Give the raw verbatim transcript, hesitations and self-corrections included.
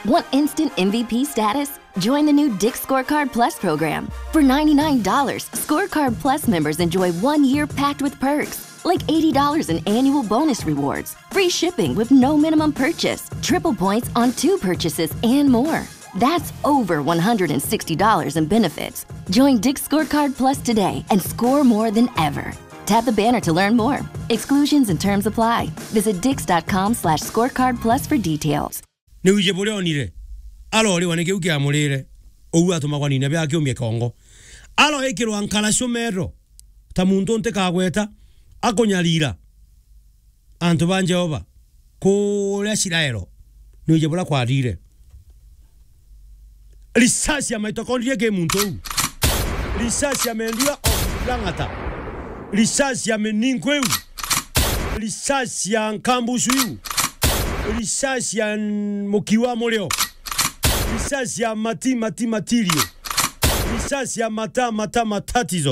Want instant M V P status? Join the new Dick's Scorecard Plus program. For ninety-nine dollars, Scorecard Plus members enjoy one year packed with perks, like eighty dollars in annual bonus rewards, free shipping with no minimum purchase, triple points on two purchases, and more. That's over one hundred sixty dollars in benefits. Join Dick's Scorecard Plus today and score more than ever. Tap the banner to learn more. Exclusions and terms apply. Visit dicks.com slash scorecard plus for details. Ni wije buria onire. Aro riwa ni kiu kiamurire. Uu atumagwa nine bia kiumia kongo. Aro ikirwa nkara cio metro. Ta muntu ntikagweta. Akunyarira. Antu ba Jehova. Kuria Israelo. Ni wije buria kwarire. Risasi ya mitochondria ki muntu uu. Risasi ya mendua of lang'ata. Risasi ya mininko iu. Risasi ya nkambusu iu. Risasi ya n-, mukiwa murio. Risasi ya mati, mati, matirio. Risasi ya mata, mata, matatizo.